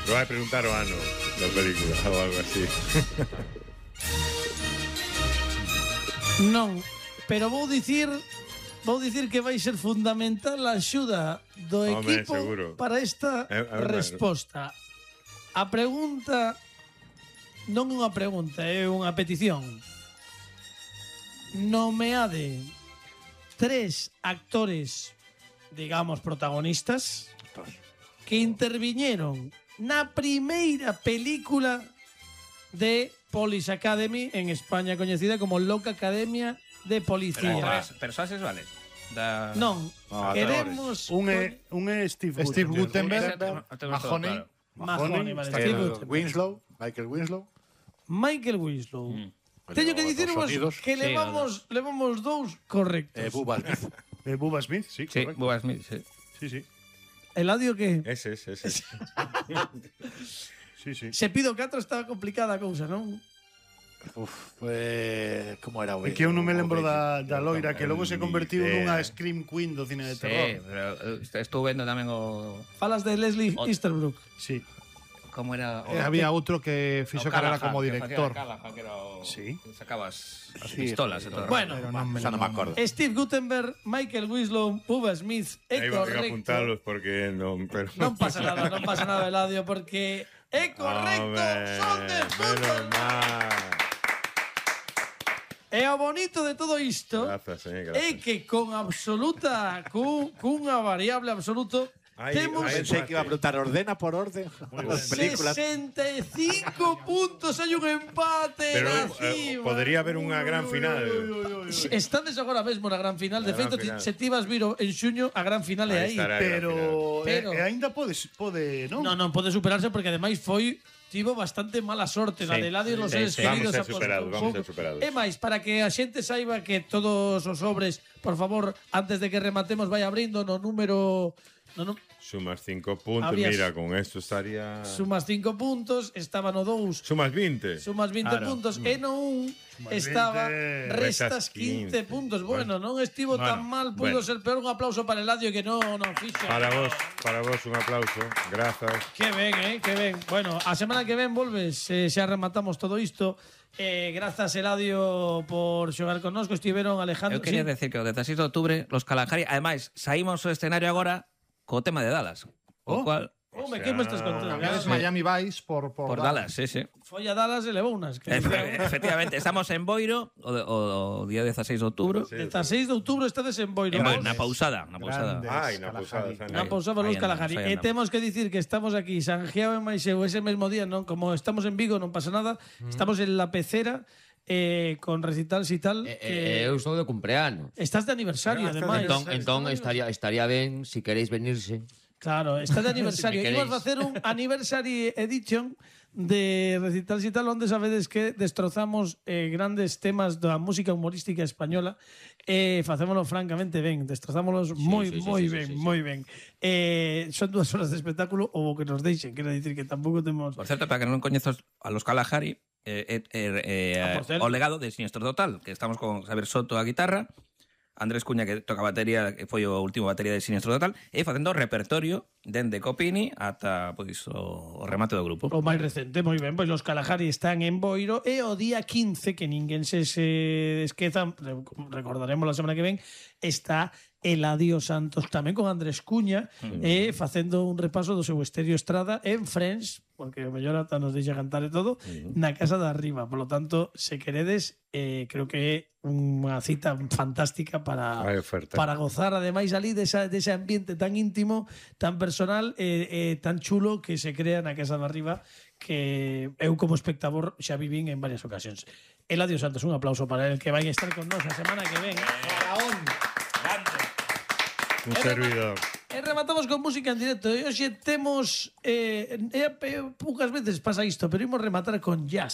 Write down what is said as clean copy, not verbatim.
Lo vai preguntar o ano da película ou algo así. Non, pero vou dicir que vai ser fundamental a axuda do Home, equipo seguro. para esta resposta. A pregunta non é unha pregunta, é unha petición. Nomeade 3 actores, digamos, protagonistas que interviñeron na primeira película de Police Academy, en España coñecida como Loca Academia de Policía. Persoases, vale? Non, queremos... Un é Steve Guttenberg. Mahoney, vale, Steve Guttenberg. Michael Winslow. Teño que dicirvos que levamos 2 correctos. Bubba Smith, sí, Sí, correcto. Bubba Smith, sí. Sí. Eladio que... Ese. Sí. Se pido 4 estaba complicada a cousa, non? Como era o É que eu non me lembro da loira que logo se convertiu nunha Scream Queen do cine de Sí, terror. pero estou vendo tamén o... Falas de Leslie Easterbrook. Sí. Como era... Había outro que fixo carrera como director. Que era o... Sí. Que sacabas as pistolas e todo. Bueno, Xa non me acordo. Steve Guttenberg, Michael Winslow, Bubba Smith, é Aí vai a correcto. apuntalos porque non... Pero... Non pasa nada, Eladio, porque é correcto, son de Menos fútbol. mal. E o bonito de todo isto Gracias, é gracias. que con absoluta, cunha variable absoluto, temos Pensei que iba a preguntar ordena por orden as películas. 65 puntos, hai un empate. Pero na cima. podería haber unha gran final. Estades agora mesmo na gran final. De Na gran feito, final. se ti vas vir en xuño, a gran final é aí. estará a gran final. Pero- aínda pode, non? Non pode superarse porque ademais tivo bastante mala sorte na de Eladio nos seres queridos. Vamos a ser superados. E máis, para que a xente saiba que todos os sobres, por favor, antes de que rematemos, vai abrindo no número... Sumas 5 puntos, Habrías- mira, con esto estaría... Sumas 5 puntos, estaba no 2. Sumas 20. Sumas 20 Claro. puntos. E no 1 estaba 20, restas 15 puntos. Bueno, non estivo tan mal, pudo ser peor. Un aplauso para Eladio que non fixo. Para vos un aplauso. Grazas. Que ben, que ben. Bueno, a semana que ven volves, xa rematamos todo isto. Grazas, Eladio, por xogar connosco. Estiveron Alejandro. Eu quería decir que o 16 de outubro, los Kalahari, ademais, saímos ao escenario agora co tema de Dallas. O cual... Home, que me estás contando? Cambiades Miami Vice por Por Dallas, sí. Foi a Dallas e levou unas. Efectivamente, estamos en Boiro o día 16 de outubro. 16 de outubro estades en Boiro. Na pausada. Ai, na posada. Na pousada Luz Kalahari. E temos que dicir que estamos aquí, Sangiao e Maiseu, ese mesmo día, non? Como estamos en Vigo, non pasa nada. Estamos en La Pecera, con recitals e tal. Eu estou de cumpleanos. Estás de aniversario, ademais. Entón estaría ben se queréis venirse. Claro, está de aniversario. Si me Imos facer un anniversary edition de recitals e tal, onde sabedes que destrozamos grandes temas da música humorística española e facémolo francamente ben, destrozámolos moi ben. Son 2 horas de espectáculo ou o que nos deixen, quero dicir que tampouco temos... Por certo, para que non coñezas a los Kalahari, por certo. o legado de Sinistro Total, que estamos con Xavier Soto a guitarra, Andrés Cuña, que toca batería, que foi o último batería de Sinistro Total, e facendo repertorio dende Copini ata pois, o remate do grupo. O máis recente, moi ben, pois los Kalahari están en Boiro e o día 15, que ninguén se esqueza, recordaremos a semana que ven, está Eladio Santos tamén con Andrés Cuña facendo un repaso do seu Estéreo Estrada en Friends, porque o mellor ata nos deixa cantar e todo, na casa de arriba. Por lo tanto, se queredes, creo que é unha cita fantástica para gozar, ademais, ali dese ambiente tan íntimo, tan personal e tan chulo que se crea na casa de arriba, que eu como espectador xa vivín en varias ocasións. Eladio Santos, un aplauso para el, que vai estar con nós a semana que ven. Un servidor. E rematamos con música en directo. E hoxe temos poucas veces pasa isto, pero imos rematar con jazz.